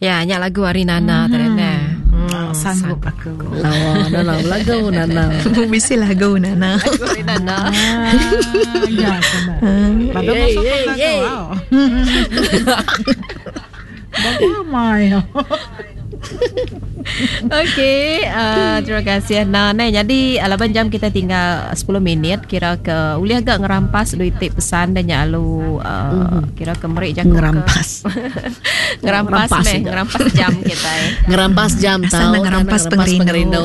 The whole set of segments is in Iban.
Ya, nya lagu ari Nana tadi neh. Sanggup aku. Lawa Nana belagu Nana. Bisi lagu Nana. Lagu ari Nana. Ya, kena. Badu Yeay, masuk yeay, lagu. yeay. Wow. Bawa mai. Okey, terima kasih Nana. Neh, jadi laban jam kita tinggal 10 minit kira ke ulih ga ngerampas duit ti pesan da nya alu kira ke meri jaku ke Ngerampas. ngerampas Ngerampas meh, aja. ngerampas jam kitai. Ngerampas jam Asal tau nak ngerampas pengerindu.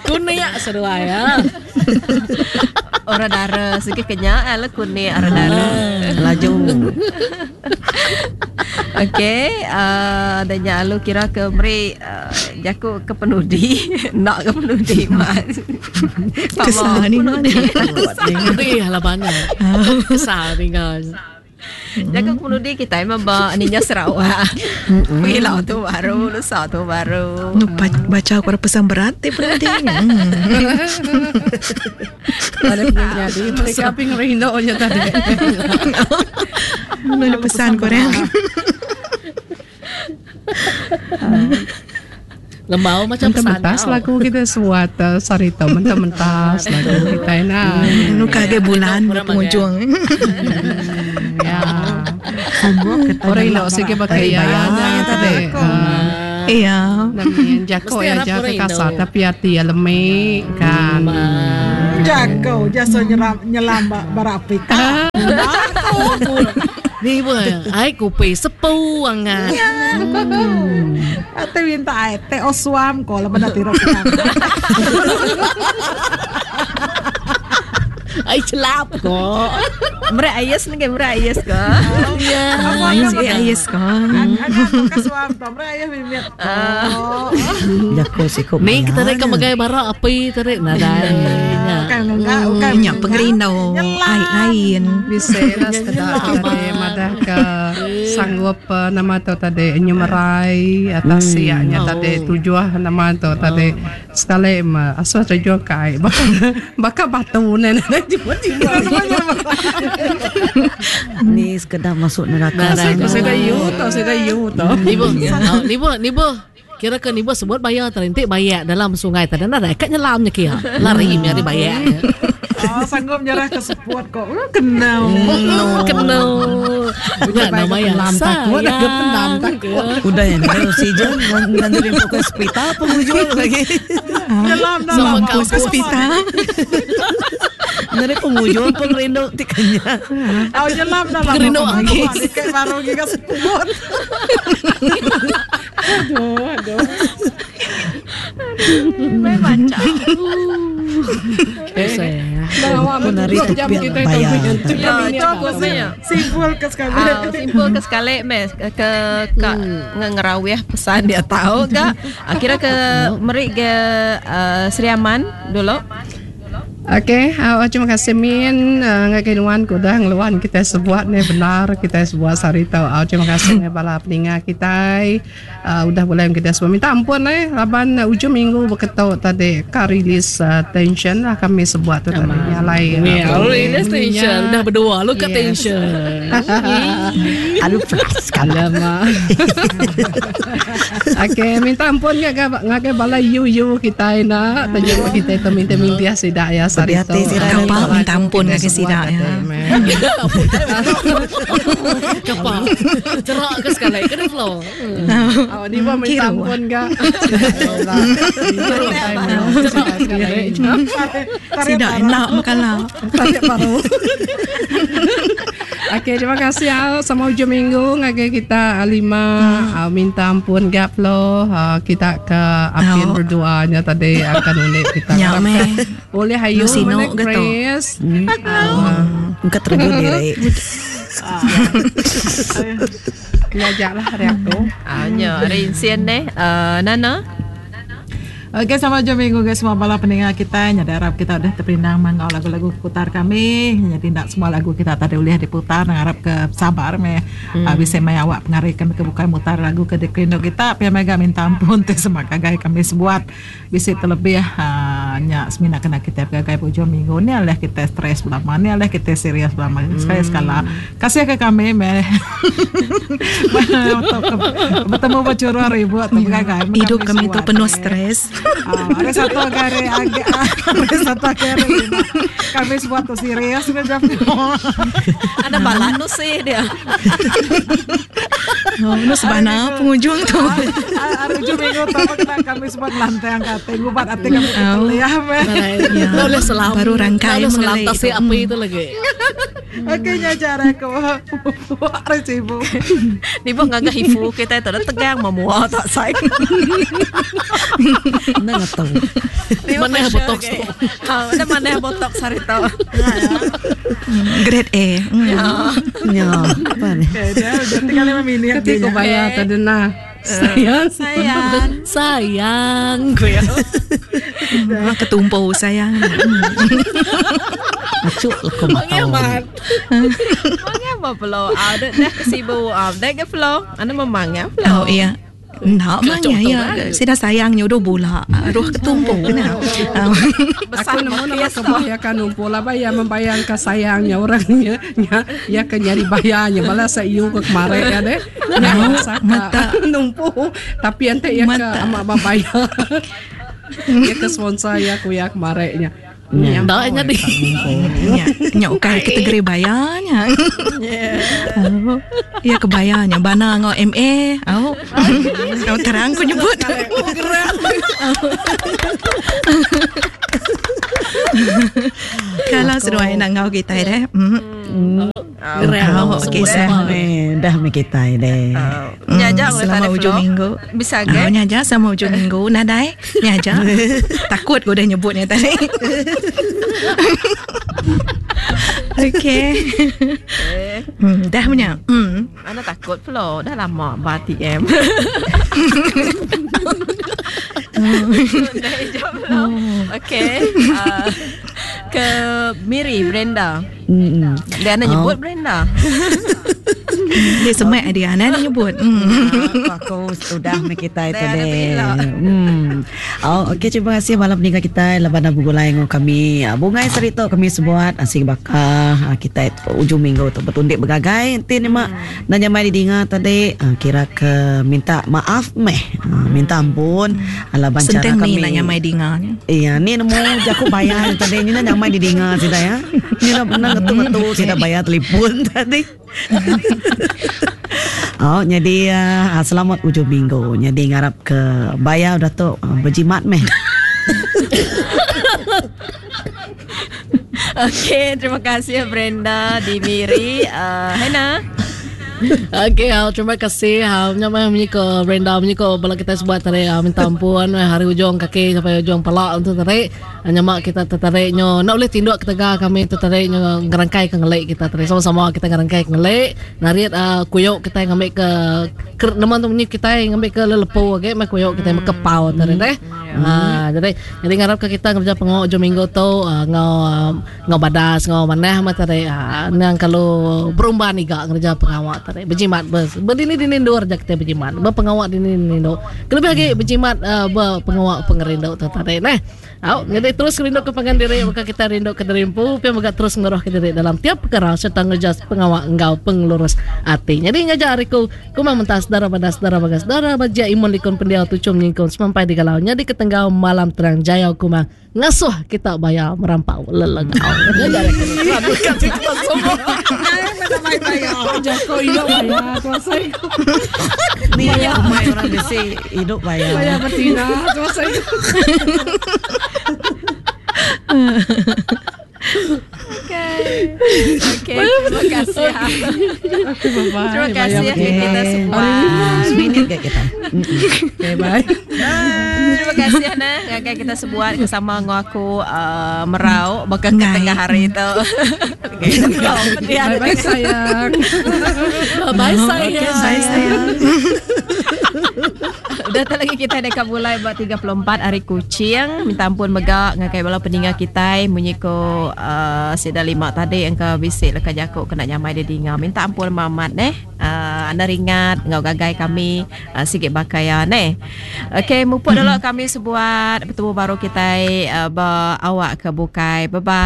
Kunik seduai ya. Orang dara sikit kenya ala kunik orang dara. Laju. Okey, dan nya alu kira ke meri jaku ke penudi, enda ke penudi mas. Kesal ni penudi. Penudi lah banyak. Kesal tinggal. Jaku ke penudi kita emang ba ninja Sarawak. Pilau tu baru, lusa tu baru. Nu baca aku ada pesan berat ti penudi. Ada jadi mereka api ngerindu je tadi. Nu ada pesan korang. Lembau macam pesan. Mentas lagu kita suat sarito mentah-mentas lagu kita ina. Nu kaget bulan Kurang penghujung. Ya. Sanggup kita. Orang ino sikit pakai ya tadi. Iya. Namanya jako Mesti ya harap jako orang kasar Indo. tapi hati ya lemik kan. Jago jasa nyelam nyelam bara api. Ni pun ai kopi sepu angat. Ate minta ai teh osuam ko laban ati ro kita. Ai celap ko. Merai ayas ni ke merai ayas ke? Ya. Ayes eh ayes kan. Agak tu kasuam to merai ayah mimit. Oh. Jako siko. Ni kita rek magai bara api tarik nadai. Bukan enggak, bukan. Nya pengerindu ai lain. Bisa lah sekedar tadi madah ke sanggup nama tu tadi nyemerai atas siaknya tadi tujuh nama tu tadi sekali ma asuh tujuh kai baka baka batu ne ne tiba-tiba Ni sekedar masuk neraka. saya saya yu tu saya yu tu Ni bu, ni bu, ni bu. Kira ke ni bu sebut bayar terintik bayar dalam sungai tadi nadai kat nyelamnya kia. Lari nyari bayar. Oh, sanggup nyerah ke seput kok. Kena. Kena. Punya nama yang Pendam takut, ada pendam takut. Udah yang ada oksigen nanti dia ke hospital penghujung lagi. Nyelam Sama dalam. kampus. Hospital. Nanti penghujung pengerindu tikanya. Oh, nyelam dalam. Pengerindu aku. Kayak baru giga seput. Aduh, aduh. Mai baca. Bawa Menari jam tepi kita bayar. itu Ya, itu aku punya. Simpul ke sekali. Ah, simpul ke sekali mes ke ke ke ngerawih pesan dia tahu ke kira ke meri ke Sri Aman dulu. Okey, terima kasih Min ngagai nuan ku udah ngeluan kita sebuat ni benar kita sebuat sehari tau. Terima kasih ni bala peninga kita udah boleh kita semua minta ampun eh laban ujung minggu berketuk tadi ka release tension lah kami sebuat tu tadi nyalai. Ya, release tension dah berdua lu kat Yes. tension. Alu flash kalau. Alamak. Okey, minta ampun ngagai ngagai bala yu yu kita ina tajuk kita itu minta minta sidak ya sehari Berhati tu. sidak. Kapal minta ampun ngagai sidak ya. Kapal. Cerak ke sekali kena flow. Oh, ni pun minta Kira. ampun gak. Sidak enak makala. Tarik baru. Okey, terima kasih ya. Sama hujung minggu ngagai kita Alima minta ampun gap lo. Kita ke Apin Oh. berdoanya tadi akan unik kita. Ya, meh. Boleh hayu Lu sino mana ke tu? Chris. Engkau terjun diri. Ngajaklah hari aku. Ah, nya hari insien neh Nana. Okey, sama jumpa minggu guys semua bala pendengar kita. Nyada harap kita udah terperindang mangau lagu-lagu putar kami. Jadi tidak semua lagu kita tadi boleh diputar. Harap ke sabar me. Bisa mai awak pengaruh kami ke bukan mutar lagu ke dikrindo kita. Pia mega minta ampun teh semua kagai kami sebuat. Bisa terlebih. Nya semina kena kitai begagai ba ujung minggu ni alih kitai stress belama ni alih kitai serius belama sekali sekala kasih ke kami meh betemu ba churah ribut tu begagai meh Hidup kami tu penuh stress. Hari satu hari hari satu hari lima kami sebuat tu serius meh jam Ada bala nusi dia. Oh, nu sebana pengujung tu. Hari ujung minggu tu kami sebuat lantang ka ati ngubat ati kami ke telih meh. Ya. Boleh selam. Baru rangkai Boleh selam mengelai tasik itu. api itu lagi. Okey nya cara aku. Hari sibuk. Ni pun ngagah hifu kita tu dah tegang memua tak sai. Nang ngetau. Mana botox tu? Ha, mana mana botox hari tu. Grade A. Ya, apa ni? Okey, dia tinggal 5 minit. Ketika bayar tadi nah. Sayang. Sayang. Sayang gue ya. Wah, ketumpu sayang. Acuk lah kau Mengamat. Mengapa flow? Ah, dah dah kesibu. Ah, dah ke flow. Anda memangnya flow. Oh iya. Nak mangnya ya. Saya dah sayang nyodoh bola. Roh ketumpu kena. Aku nemu nama kebuah ya kan numpu lah bayar membayangkan sayangnya orangnya nya ya ke nyari bayarnya balas saya iu ke kemarin ya deh. Nya mata. numpu tapi ante ya ke Mata. amak bayar. Ya ke sponsor ya ku ya kemarinnya. Ya. Dah jadi. Nya, nya ukai kategori bayarnya. Oh, ya kebayarnya bana ngau MA. Oh. Oh terang ku nyebut. Kalau seduai nak ngau kita deh. Geram. Oh, okey sah. Eh, dah me kita deh. Nyaja Selama ujung minggu. Bisa Oh, ke? nyaja sama ujung minggu nadai. Nyaja. Takut ku dah nyebutnya tadi. Okey. Dah punya. Anda takut flow. Dah lama ba TM. Dah hijab flow. Okey. Ke Miri Brenda. Dia nak nyebut Brenda. Dia semak dia nak nyebut. Aku sudah me kita itu Dah, dah deh. bila. Oh, okey terima kasih malam ni kita laban abu gulai ngau kami. Bungai serito kami sebuat asing bakar kita itu ujung minggu tu bertundik bergagai nanti ni mak nanya mai didinga tadi kira ke minta maaf meh. Minta ampun laban cara Senteng kami. ni nanya mai dinganya. Iya, ni nemu jaku bayar tadi ni nak nyamai didinga sida ya. Ni nak nak ngetu-ngetu sida bayar telefon tadi. Oh, jadi selamat ujung minggu. Jadi ngarap ke bayar dah tu berjimat meh. Okey, terima kasih Brenda di Miri. Hena. Okey, terima kasih. Nyamai munyi ke Brenda, munyi ke bala kita sebuat tadi minta ampun hari ujung kaki sampai ujung palak untuk tadi. Nyamak kita tertarik nyo. Nak boleh tinduk ketegar kami tertarik nyo ngerangkai ke ngelik kita tadi. Sama-sama kita ngerangkai ke ngelik. Narit kuyuk kita ngambil ke nama tu munyi kita ngambil ke lelepu okey, mai kuyuk kita ngambil ke pau tadi deh. Jadi jadi ngarap ke kita ngerja pengok ujung minggu tu ngau ngau badas ngau manah mah tadi. Nang kalau berumban iga ngerja pengawak tadi berjimat bers. Berdini dini dua rejak kita berjimat. Berpengawak dini dini do. Kelebih lagi berjimat berpengawak pengerindu tu tadi nah. Au, jadi terus rindu ke pangan diri maka kita rindu ke derimpu, pi mega terus ngeroh ke diri dalam tiap perkara serta ngerja pengawak enggau pengelurus ati. Jadi ngajar hariku kumang mentas darah badas darah bagas darah baja imun likun pendiau tucum nyingkun semampai di galau nya di ketenggau malam terang jaya kumang ngasuh kita bayar merampau lelengau. Ngajar aku. Bukan kita semua. Joko hidup bayar kuasa Ni ya mai orang besi hidup bayar. Bayar betina kuasa Okey. Okey, terima kasih. Terima kasih ya kita semua. Seminit ke kita. Okay, bye. Terima kasih Hana. Ngagai kita sebuat bersama ngau aku merau bakal ke tengah hari itu. Bye bye sayang. Bye sayang. Bye sayang. Dah tak lagi kita dekat mulai buat 34 hari kucing. Minta ampun megak ngagai bala peninggal kita munyi ko sida lima tadi yang ke bisik lekat jakuk kena nyamai dia dinga. Minta ampun mamat neh. Anda ringat enggau gagai kami uh, sigi baka ya neh. Okey, mupuk dulu kami sebuat betemu baru kitai uh, ba awak ke bukai. Bye bye.